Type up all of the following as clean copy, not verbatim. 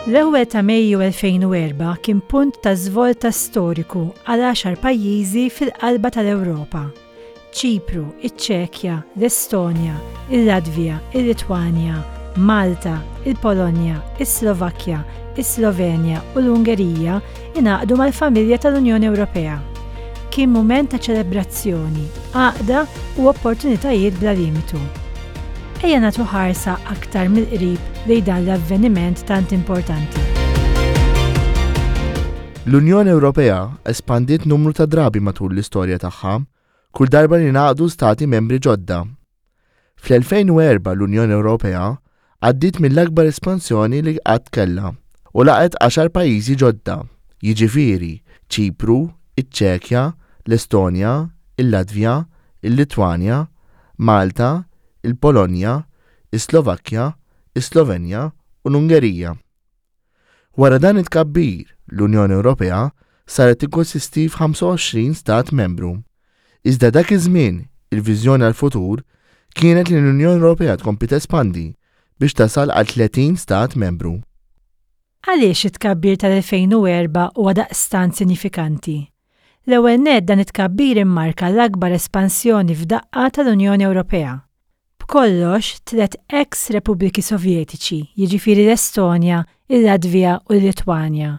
L-ewwel ta' Mejju 2004 kien punt ta' żvolta storiku għal għaxar pajjiżi fil-qalba tal-Ewropa. Ċipru, iċ-Ċekja, l-Estonja, il-Latvja, il-Litwanja, Malta, il-Polonja, is-Slovakkja, is-Slovenja u l-Ungerija ingħaqdu mal-familja tal-Unjoni Ewropea. Kien mument ta' ċelebrazzjoni, għaqda u opportunitajiet bla limitu. Ejja nagħtu ħarsa aktar mill-qrib lejn dan l-avveniment tant importanti. L-Unjoni Ewropea espandiet numru ta' drabi matul l-istorja tagħha, kull darba li ngħaqdu stati membri ġodda. Fl-2004 l-Unjoni Ewropea għaddiet mill-akbar espansjoni li qatt kellha u laqgħet għaxar pajjiżi ġodda, jiġifieri Ċipru, iċ-Ċekja, l-Estonja, il-Latvja, il-Litwanja, Malta, il-Polonja, is-Slovakkja, is-Slovenja u l-Ungerija. Wara dan it-tkabbir, l-Unjoni Ewropea saret tikkonsisti f'25 stat membru. Iżda dak iż-żmien, il-viżjoni għall-futur kienet li l-Unjoni Ewropea tkompli tespandi biex tasal għal 30 stat membru. Għaliex it-tkabbir tal-2004 huwa daqstant sinifikanti? L-ewwel nett dan it-tkabbir immarka l-akbar espansjoni f'daqqa tal-Unjoni Ewropea. B'kollox, tlett eks Repubbliki Sovjetiċi, jiġifieri l-Estonja, il-Latvja u l-Litwanja,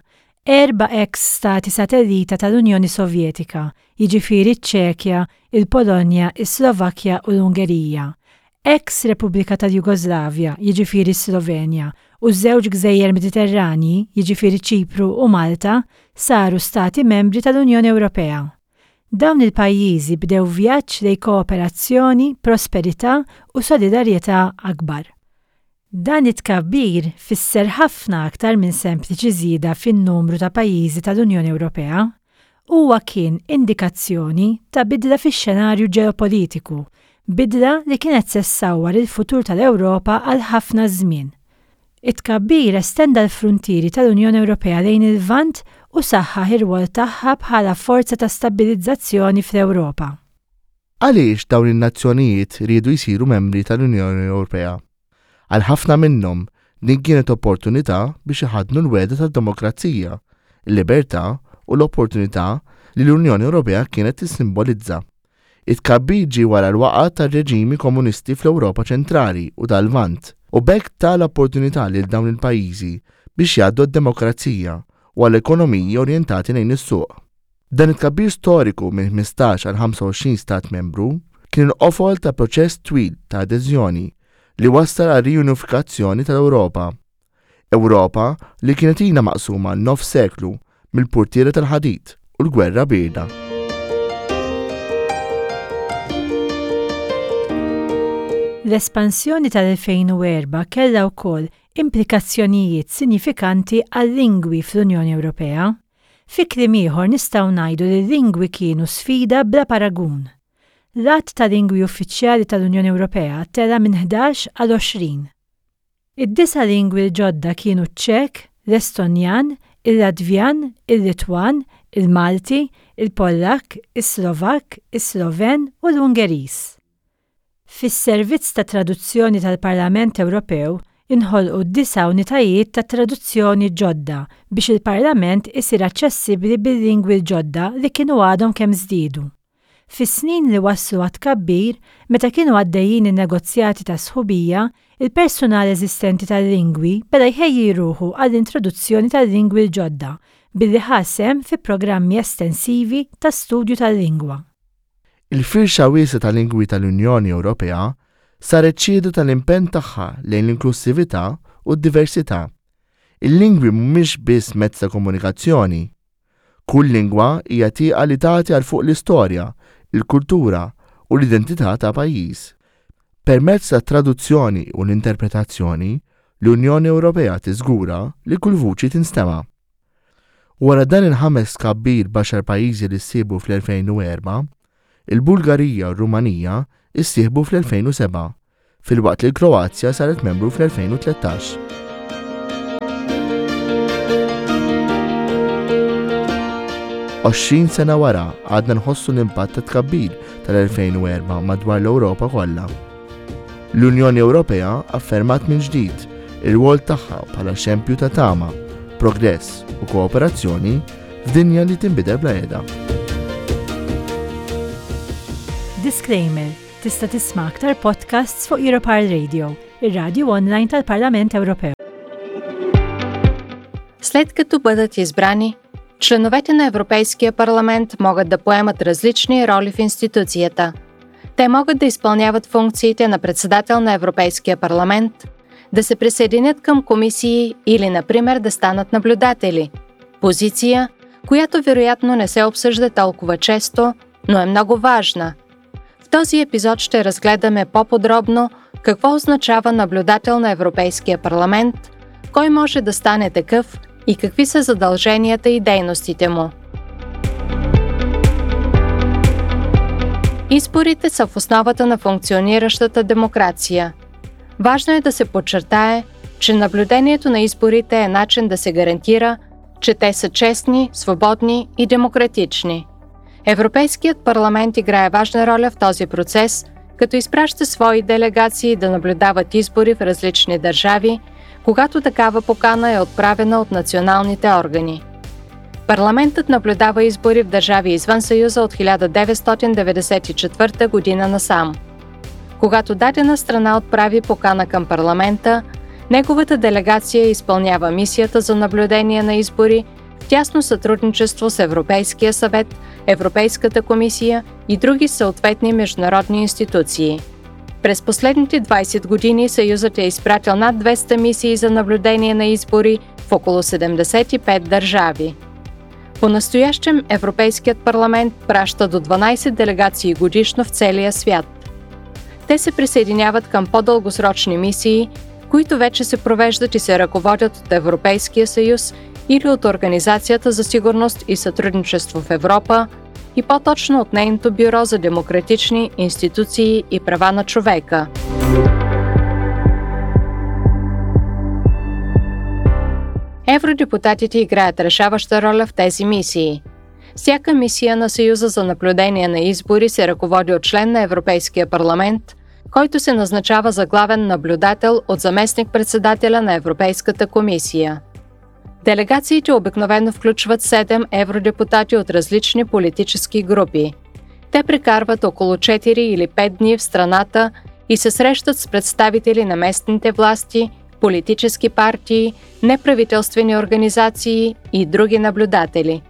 erba' eks stati satellita tal-Unjoni Sovjetika, jiġifieri ċ-Ċekja, il-Polonja, is-Slovakkja u l-Ungerija, eks Repubblika tal-Jugoslavja, jiġifieri s-Slovenja, u żewġ gżejjer Mediterranji, jiġifieri Ċipru u Malta, saru stati membri tal-Unjoni Ewropea. Dawn il-pajjiżi bdew vjaġġ lejn kooperazzjoni, prosperità u solidarjetà akbar. Dan it-tkabbir fisser ħafna aktar minn sempliċi żieda fin-numru ta' pajjiżi tal-Unjoni Ewropea. Huwa kien indikazzjoni ta' bidla fix-xenarju ġeopolitiku, bidla li kienet se ssawwar il-futur tal-Ewropa għal ħafna żmien. It-tkabbir estenda l-fruntieri tal-Unjoni Ewropea lejn il-Lvant u saħħaħ ir-rwol tagħha bħala forza ta' stabbilizzazzjoni fl-Ewropa. Għaliex dawn in-nazzjonijiet riedu jsiru membri tal-Unjoni Ewropea? Għal ħafna minnhom, din kienet opportunità biex iħaddnu l-wegħda tad-demokrazija, il-libertà u l-opportunità li l-Unjoni Ewropea kienet tissimbolizza. It-tkabbir ġie wara l-waqgħa tar-reġimi komunisti fl-Ewropa Ċentrali u tal-Lvant, u b'hekk ta l-opportunità lil dawn il-pajjiżi biex jgħaddu għad-demokrazija u għal ekonomiji orjentati lejn is-suq. Dan it-tkabbir storiku minn 15 għal 25 stat membru kien il-qofol ta' proċess twil ta' adeżjoni li wassal għar-riunifikazzjoni tal-Ewropa. Ewropa li kienet ilha maqsuma għal nofs seklu mill-purtiera tal-ħadid u l-gwerra bierda. L-espansjoni tal-2004 kellha wkoll implikazzjonijiet sinjifikanti għal-lingwi fl-Unjoni Ewropea. Fi kliem ieħor nistgħu ngħidu li l-lingwi kienu sfida bla paragun. L-għadd ta' lingwi uffiċjali tal-Unjoni Ewropea tela' minn 11 għal 20. Id-disa' lingwi l-ġodda kienu ċ-Ċek, l-Estonjan, il-Latvjan, il-Litwan, il-Malti, il-Pollakk, is-Slovakk, is-Sloven u l-Ungeriż. Fis-Servizz ta' Traduzzjoni tal-Parlament Ewropew inħolqu disa' unitajiet ta' traduzzjoni ġodda biex il-Parlament isir aċċessibbli bil-lingwi l-ġodda li kienu għadhom kemm żdiedu. Fis-snin li wasslu għat-tkabbir, meta kienu għaddejjin in-negozjati ta' sħubija, il-persunal eżistenti tal-lingwi beda jħejji ruħu għall-introduzzjoni tal-lingwi l-ġodda billi ħa sehem fi programmi estensivi ta' studju tal-lingwa. Il-firxa wiesgħa ta' lingwi tal-Unjoni Ewropea saret xhieda tal-impenn tagħha lejn l-inklussività u d-diversità. Il-lingwi mhumiex biss mezz ta' komunikazzjoni. Kull lingwa hija tieqa li tagħti għal fuq l-istorja, il-kultura u l-identità ta' pajjiż. Permezz tat-traduzzjoni u l-interpretazzjoni, l-Unjoni Ewropea tiżgura li kull vuċi tinstema'. Wara dan il-ħames tkabbir b'għaxar pajjiżi li ssieħbu fl-2004, il-Bulgarija u r-Rumanija ssieħbu fl-2007, filwaqt li l-Kroazja saret membru fl-2013. 20 sena wara għadna nħossu l-impatt ta' tkabbir tal-2004 madwar l-Ewropa kollha. L-Unjoni Ewropea affermat minn ġdid Ir-rwol tagħha bħala xempju ta' tama, progress u kooperazzjoni f'dinja li tinbidel bla qiegħda. Disclaimer, Tista' tisma' aktar podcasts fuq Europarl Radio, ir-radju online tal-Parlament Ewropew. След като бъдат избрани, членовете на Европейския парламент могат да поемат различни роли в институцията. Те могат да изпълняват функциите на председател на Европейския парламент, да се присъединят към комисии или, например, да станат наблюдатели. Позиция, която вероятно не се обсъжда толкова често, но е много важна. В този епизод ще разгледаме по-подробно какво означава наблюдател на Европейския парламент, кой може да стане такъв и какви са задълженията и дейностите му. Изборите са в основата на функциониращата демокрация. Важно е да се подчертае, че наблюдението на изборите е начин да се гарантира, че те са честни, свободни и демократични. Европейският парламент играе важна роля в този процес, като изпраща свои делегации да наблюдават избори в различни държави, когато такава покана е отправена от националните органи. Парламентът наблюдава избори в държави извън Съюза от 1994 година насам. Когато дадена страна отправи покана към парламента, неговата делегация изпълнява мисията за наблюдение на избори в тясно сътрудничество с Европейския съвет, Европейската комисия и други съответни международни институции. През последните 20 години Съюзът е изпратил над 200 мисии за наблюдение на избори в около 75 държави. По-настоящем Европейският парламент праща до 12 делегации годишно в целия свят. Те се присъединяват към по-дългосрочни мисии, които вече се провеждат и се ръководят от Европейския съюз или от Организацията за сигурност и сътрудничество в Европа и по-точно от нейното Бюро за демократични институции и права на човека. Евродепутатите играят решаваща роля в тези мисии. Всяка мисия на Съюза за наблюдение на избори се ръководи от член на Европейския парламент, който се назначава за главен наблюдател от заместник-председателя на Европейската комисия. Делегациите обикновено включват 7 евродепутати от различни политически групи. Те прекарват около 4 или 5 дни в страната и се срещат с представители на местните власти, политически партии, неправителствени организации и други наблюдатели.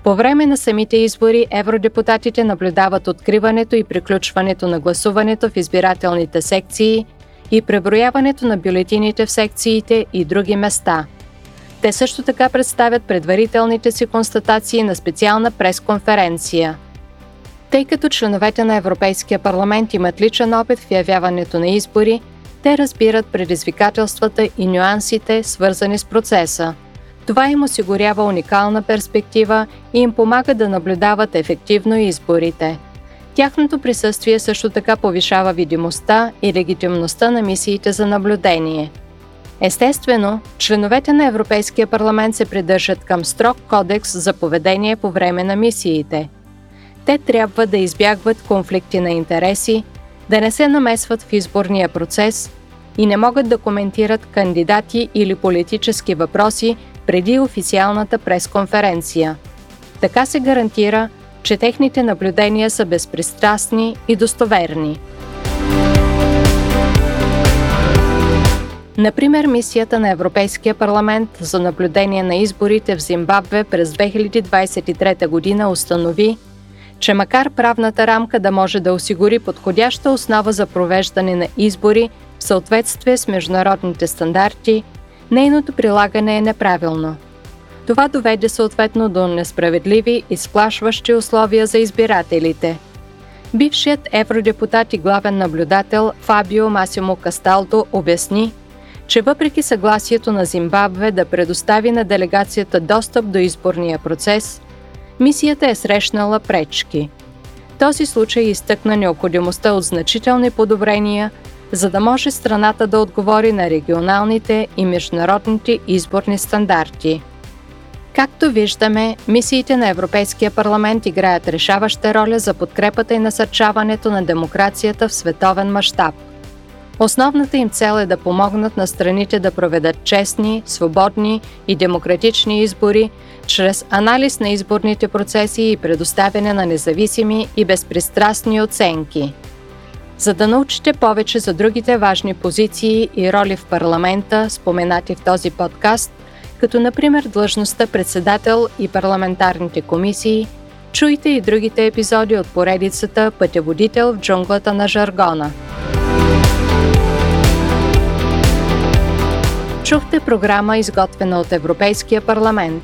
По време на самите избори евродепутатите наблюдават откриването и приключването на гласуването в избирателните секции и преброяването на бюлетините в секциите и други места. Те също така представят предварителните си констатации на специална пресконференция. Тъй като членовете на Европейския парламент имат личен опит в явяването на избори, те разбират предизвикателствата и нюансите, свързани с процеса. Това им осигурява уникална перспектива и им помага да наблюдават ефективно изборите. Тяхното присъствие също така повишава видимостта и легитимността на мисиите за наблюдение. Естествено, членовете на Европейския парламент се придържат към строг кодекс за поведение по време на мисиите. Те трябва да избягват конфликти на интереси, да не се намесват в изборния процес и не могат да коментират кандидати или политически въпроси преди официалната пресконференция. Така се гарантира, че техните наблюдения са безпристрастни и достоверни. Например, мисията на Европейския парламент за наблюдение на изборите в Зимбабве през 2023 година установи, че макар правната рамка да може да осигури подходяща основа за провеждане на избори в съответствие с международните стандарти, нейното прилагане е неправилно. Това доведе съответно до несправедливи и сплашващи условия за избирателите. Бившият евродепутат и главен наблюдател Фабио Масимо Касталдо обясни, че въпреки съгласието на Зимбабве да предостави на делегацията достъп до изборния процес, мисията е срещнала пречки. Този случай изтъкна необходимостта от значителни подобрения, за да може страната да отговори на регионалните и международните изборни стандарти. Както виждаме, мисиите на Европейския парламент играят решаваща роля за подкрепата и насърчаването на демокрацията в световен мащаб. Основната им цел е да помогнат на страните да проведат честни, свободни и демократични избори чрез анализ на изборните процеси и предоставяне на независими и безпристрастни оценки. За да научите повече за другите важни позиции и роли в парламента, споменати в този подкаст, като например длъжността председател и парламентарните комисии, чуйте и другите епизоди от поредицата Пътеводител в джунглата на жаргона. Чухте програма, изготвена от Европейския парламент.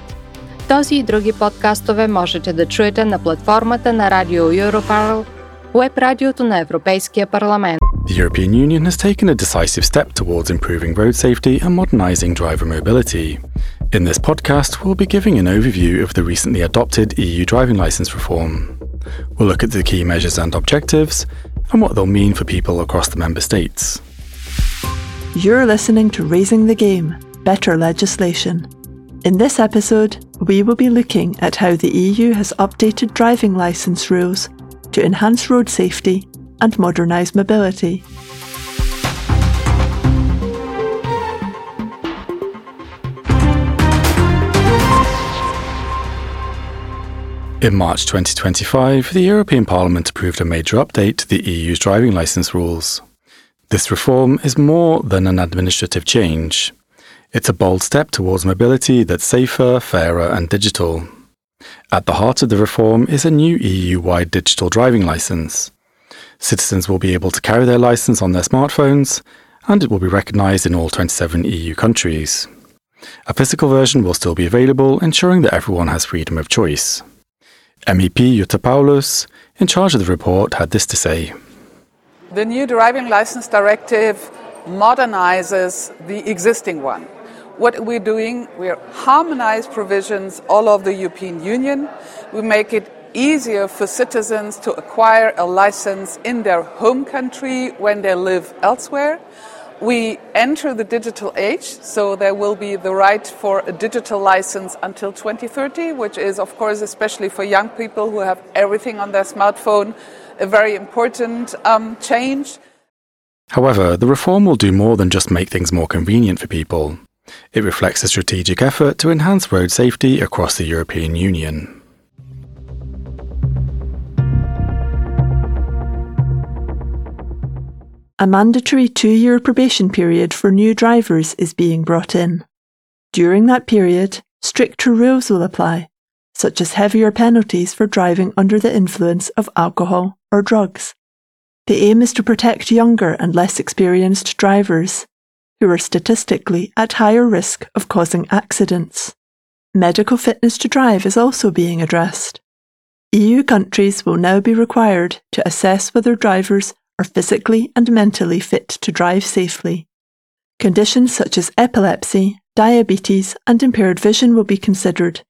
Този и други подкастове можете да чуете на платформата на Радио Europarl, уеб радиото на Европейския парламент. The European Union has taken a decisive step towards improving road safety and modernising driver mobility. In this podcast, we'll be giving an overview of the recently adopted EU driving licence reform. We'll look at the key measures and objectives and what they'll mean for people across the member states. You're listening to Raising the Game Better Legislation. In this episode, we will be looking at how the EU has updated driving licence rules to enhance road safety and modernise mobility. In March 2025, the European Parliament approved a major update to the EU's driving licence rules. This reform is more than an administrative change. It's a bold step towards mobility that's safer, fairer, and digital. At the heart of the reform is a new EU wide digital driving licence. Citizens will be able to carry their licence on their smartphones, and it will be recognised in all 27 EU countries. A physical version will still be available, ensuring that everyone has freedom of choice. MEP Jutta Paulus, in charge of the report, had this to say. The new driving license directive modernizes the existing one. What we're doing, we harmonize provisions all over the European Union. We make it easier for citizens to acquire a license in their home country when they live elsewhere. We enter the digital age, so there will be the right for a digital license until 2030, which is, of course, especially for young people who have everything on their smartphone, a very important change. However, the reform will do more than just make things more convenient for people. It reflects a strategic effort to enhance road safety across the European Union. A mandatory two year probation period for new drivers is being brought in. During that period, stricter rules will apply, such as heavier penalties for driving under the influence of alcohol or drugs. The aim is to protect younger and less experienced drivers, who are statistically at higher risk of causing accidents. Medical fitness to drive is also being addressed. EU countries will now be required to assess whether drivers are physically and mentally fit to drive safely. Conditions such as epilepsy, diabetes, and impaired vision will be considered,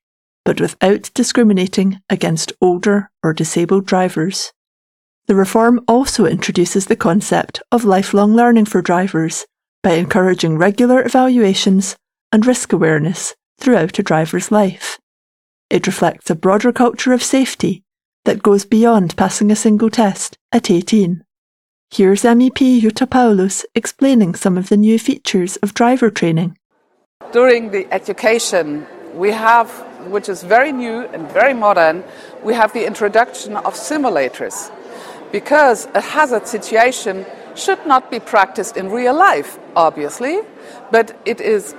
but without discriminating against older or disabled drivers. The reform also introduces the concept of lifelong learning for drivers by encouraging regular evaluations and risk awareness throughout a driver's life. It reflects a broader culture of safety that goes beyond passing a single test at 18. Here's MEP Jutta Paulus explaining some of the new features of driver training. During the education, we have, which is very new and very modern, we have the introduction of simulators. Because a hazard situation should not be practiced in real life, obviously, but it is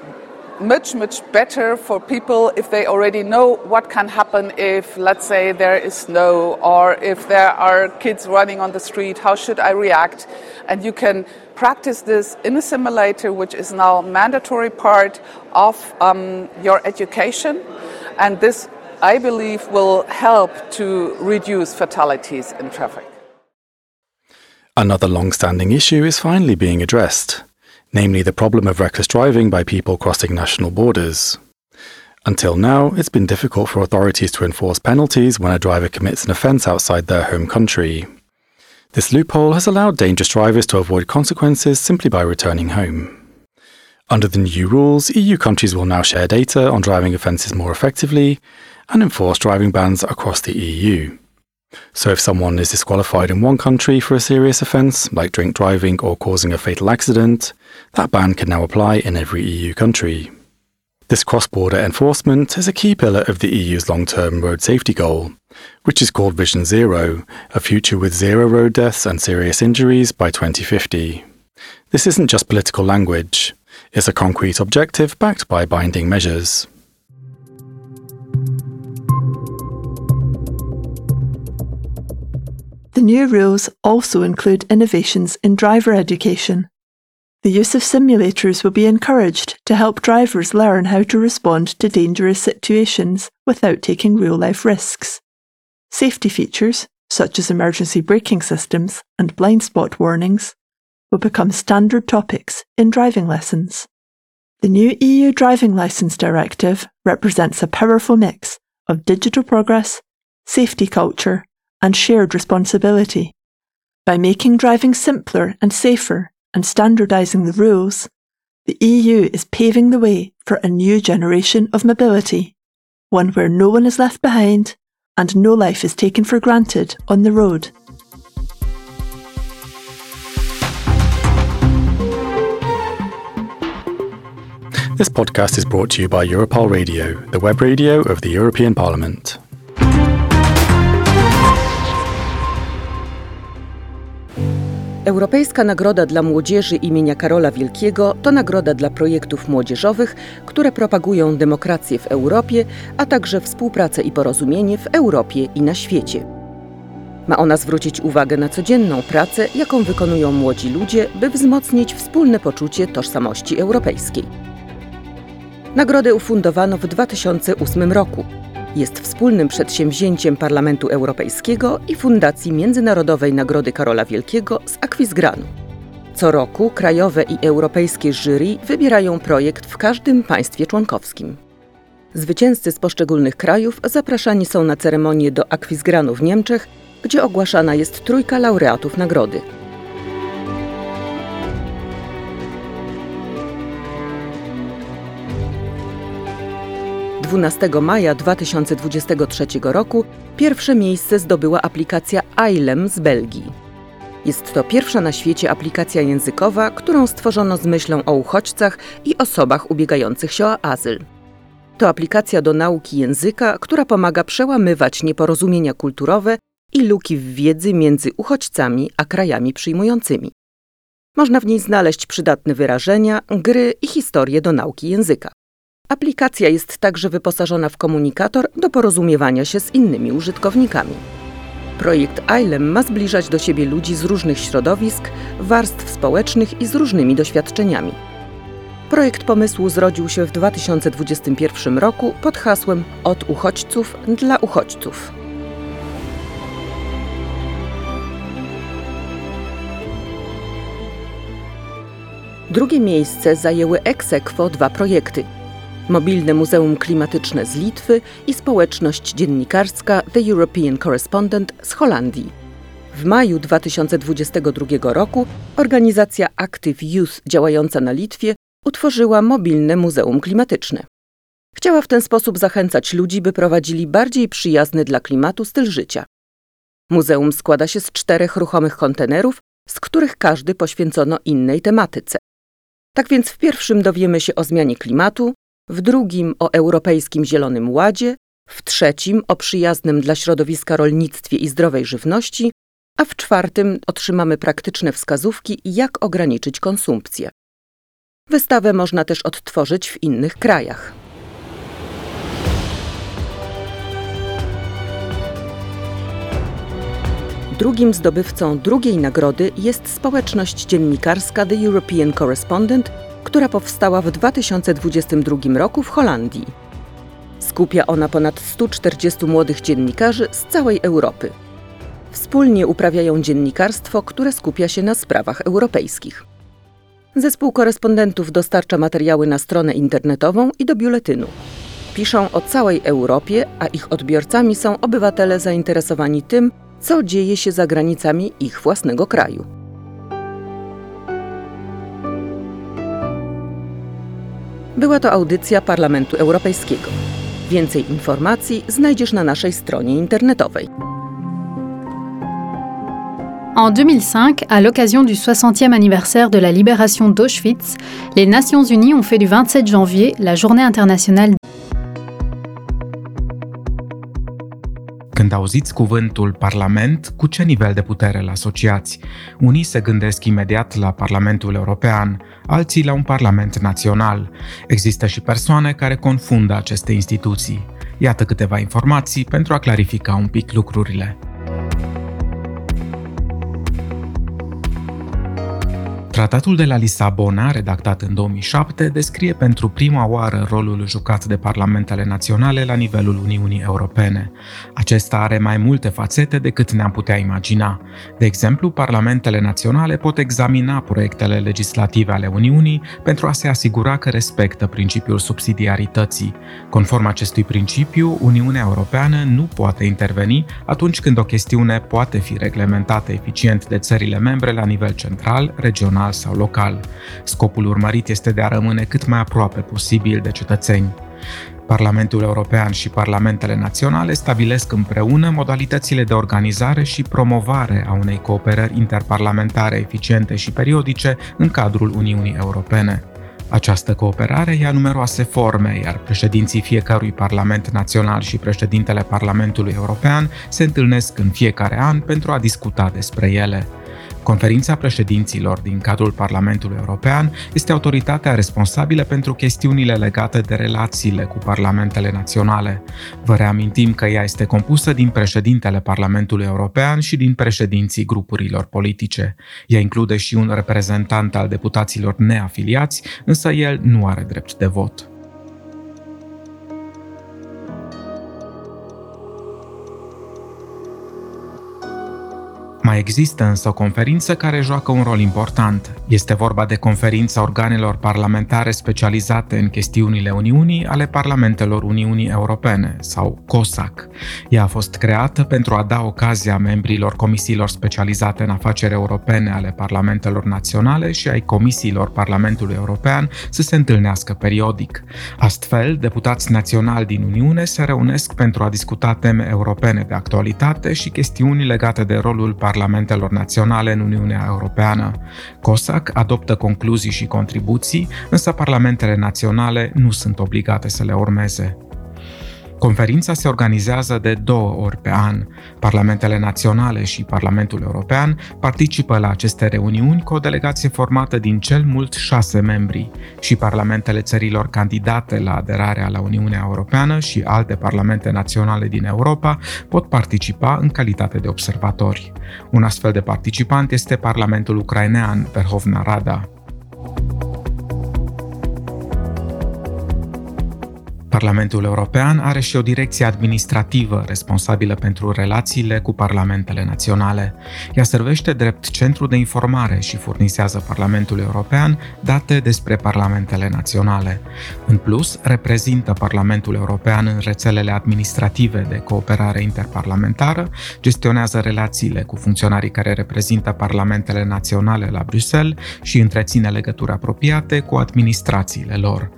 much, much better for people if they already know what can happen if, let's say, there is snow or if there are kids running on the street, how should I react? And you can practice this in a simulator, which is now a mandatory part of your education. And this, I believe, will help to reduce fatalities in traffic. Another long standing issue is finally being addressed namely the problem of reckless driving by people crossing national borders. Until now, it's been difficult for authorities to enforce penalties when a driver commits an offence outside their home country. This loophole has allowed dangerous drivers to avoid consequences simply by returning home. Under the new rules, EU countries will now share data on driving offences more effectively and enforce driving bans across the EU. So if someone is disqualified in one country for a serious offence, like drink driving or causing a fatal accident, that ban can now apply in every EU country. This cross border enforcement is a key pillar of the EU's long term road safety goal, which is called Vision Zero, a future with zero road deaths and serious injuries by 2050. This isn't just political language, it's a concrete objective backed by binding measures. The new rules also include innovations in driver education. The use of simulators will be encouraged to help drivers learn how to respond to dangerous situations without taking real life risks. Safety features, such as emergency braking systems and blind spot warnings, will become standard topics in driving lessons. The new EU Driving Licence Directive represents a powerful mix of digital progress, safety culture, and shared responsibility. By making driving simpler and safer and standardising the rules, the EU is paving the way for a new generation of mobility, one where no one is left behind and no life is taken for granted on the road. This podcast is brought to you by Europarl Radio, the web radio of the European Parliament. Europejska Nagroda dla Młodzieży imienia Karola Wielkiego to nagroda dla projektów młodzieżowych, które propagują demokrację w Europie, a także współpracę i porozumienie w Europie i na świecie. Ma ona zwrócić uwagę na codzienną pracę, jaką wykonują młodzi ludzie, by wzmocnić wspólne poczucie tożsamości europejskiej. Nagrodę ufundowano w 2008 roku. Jest wspólnym przedsięwzięciem Parlamentu Europejskiego i Fundacji Międzynarodowej Nagrody Karola Wielkiego z Akwizgranu. Co roku krajowe i europejskie jury wybierają projekt w każdym państwie członkowskim. Zwycięzcy z poszczególnych krajów zapraszani są na ceremonię do Akwizgranu w Niemczech, gdzie ogłaszana jest trójka laureatów nagrody. 12 maja 2023 roku pierwsze miejsce zdobyła aplikacja Ailem z Belgii. Jest to pierwsza na świecie aplikacja językowa, którą stworzono z myślą o uchodźcach i osobach ubiegających się o azyl. To aplikacja do nauki języka, która pomaga przełamywać nieporozumienia kulturowe i luki w wiedzy między uchodźcami a krajami przyjmującymi. Można w niej znaleźć przydatne wyrażenia, gry i historie do nauki języka. Aplikacja jest także wyposażona w komunikator do porozumiewania się z innymi użytkownikami. Projekt ILEM ma zbliżać do siebie ludzi z różnych środowisk, warstw społecznych i z różnymi doświadczeniami. Projekt pomysłu zrodził się w 2021 roku pod hasłem Od uchodźców dla uchodźców. Drugie miejsce zajęły ex aequo dwa projekty – Mobilne Muzeum Klimatyczne z Litwy i społeczność dziennikarska The European Correspondent z Holandii. W maju 2022 roku organizacja Active Youth działająca na Litwie utworzyła Mobilne Muzeum Klimatyczne. Chciała w ten sposób zachęcać ludzi, by prowadzili bardziej przyjazny dla klimatu styl życia. Muzeum składa się z czterech ruchomych kontenerów, z których każdy poświęcono innej tematyce. Tak więc w pierwszym dowiemy się o zmianie klimatu, w drugim o Europejskim Zielonym Ładzie, w trzecim o przyjaznym dla środowiska rolnictwie i zdrowej żywności, a w czwartym otrzymamy praktyczne wskazówki, jak ograniczyć konsumpcję. Wystawę można też odtworzyć w innych krajach. Drugim zdobywcą drugiej nagrody jest społeczność dziennikarska The European Correspondent, która powstała w 2022 roku w Holandii. Skupia ona ponad 140 młodych dziennikarzy z całej Europy. Wspólnie uprawiają dziennikarstwo, które skupia się na sprawach europejskich. Zespół korespondentów dostarcza materiały na stronę internetową i do biuletynu. Piszą o całej Europie, a ich odbiorcami są obywatele zainteresowani tym, co dzieje się za granicami ich własnego kraju. Była to audycja Parlamentu Europejskiego. Więcej informacji znajdziesz na naszej stronie internetowej. En 2005, à l'occasion du 60e anniversaire de la libération d'Auschwitz, les Nations Unies ont fait du 27 janvier la journée internationale Când auziți cuvântul Parlament, cu ce nivel de putere îl asociați? Unii se gândesc imediat la Parlamentul European, alții la un Parlament național. Există și persoane care confundă aceste instituții. Iată câteva informații pentru a clarifica un pic lucrurile. Tratatul de la Lisabona, redactat în 2007, descrie pentru prima oară rolul jucat de parlamentele naționale la nivelul Uniunii Europene. Acesta are mai multe fațete decât ne-am putea imagina. De exemplu, parlamentele naționale pot examina proiectele legislative ale Uniunii pentru a se asigura că respectă principiul subsidiarității. Conform acestui principiu, Uniunea Europeană nu poate interveni atunci când o chestiune poate fi reglementată eficient de țările membre la nivel central, regional sau local. Scopul urmărit este de a rămâne cât mai aproape posibil de cetățeni. Parlamentul European și parlamentele naționale stabilesc împreună modalitățile de organizare și promovare a unei cooperări interparlamentare eficiente și periodice în cadrul Uniunii Europene. Această cooperare ia numeroase forme, iar președinții fiecărui Parlament Național și președintele Parlamentului European se întâlnesc în fiecare an pentru a discuta despre ele. Conferința președinților din cadrul Parlamentului European este autoritatea responsabilă pentru chestiunile legate de relațiile cu parlamentele naționale. Vă reamintim că ea este compusă din președintele Parlamentului European și din președinții grupurilor politice. Ea include și un reprezentant al deputaților neafiliați, însă el nu are drept de vot. Mai există însă o conferință care joacă un rol important. Este vorba de conferința organelor parlamentare specializate în chestiunile Uniunii ale Parlamentelor Uniunii Europene, sau COSAC. Ea a fost creată pentru a da ocazia membrilor comisiilor specializate în afaceri europene ale Parlamentelor Naționale și ai comisiilor Parlamentului European să se întâlnească periodic. Astfel, deputați naționali din Uniune se reunesc pentru a discuta teme europene de actualitate și chestiuni legate de rolul parlamentelor naționale în Uniunea Europeană. COSAC adoptă concluzii și contribuții, însă parlamentele naționale nu sunt obligate să le urmeze. Conferința se organizează de 2 ori pe an. Parlamentele naționale și Parlamentul European participă la aceste reuniuni cu o delegație formată din cel mult 6 membri și parlamentele țărilor candidate la aderarea la Uniunea Europeană și alte parlamente naționale din Europa pot participa în calitate de observatori. Un astfel de participant este Parlamentul ucrainean, Verhovna Rada. Parlamentul European are și o direcție administrativă responsabilă pentru relațiile cu parlamentele naționale. Ea servește drept centru de informare și furnizează Parlamentul European date despre parlamentele naționale. În plus, reprezintă Parlamentul European în rețelele administrative de cooperare interparlamentară, gestionează relațiile cu funcționarii care reprezintă parlamentele naționale la Bruxelles și întreține legături apropiate cu administrațiile lor.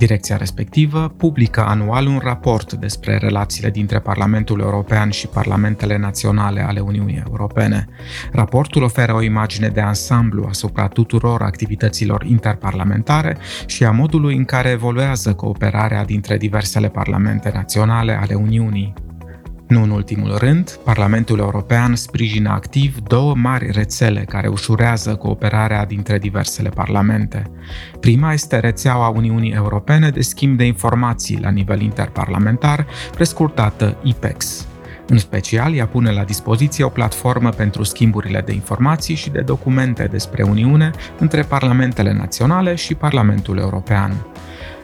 Direcția respectivă publică anual un raport despre relațiile dintre Parlamentul European și parlamentele naționale ale Uniunii Europene. Raportul oferă o imagine de ansamblu asupra tuturor activităților interparlamentare și a modului în care evoluează cooperarea dintre diversele parlamente naționale ale Uniunii. Nu în ultimul rând, Parlamentul European sprijină activ 2 mari rețele care ușurează cooperarea dintre diversele parlamente. Prima este rețeaua Uniunii Europene de schimb de informații la nivel interparlamentar, prescurtată IPEX. În special, ea pune la dispoziție o platformă pentru schimburile de informații și de documente despre Uniune între parlamentele naționale și Parlamentul European.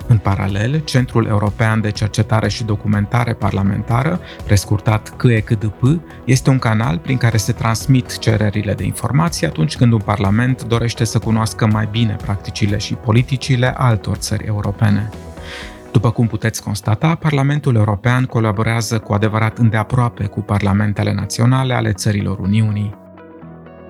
În paralel, Centrul European de Cercetare și Documentare Parlamentară, prescurtat CECDP, este un canal prin care se transmit cererile de informații atunci când un parlament dorește să cunoască mai bine practicile și politicile altor țări europene. După cum puteți constata, Parlamentul European colaborează cu adevărat îndeaproape cu parlamentele naționale ale țărilor Uniunii.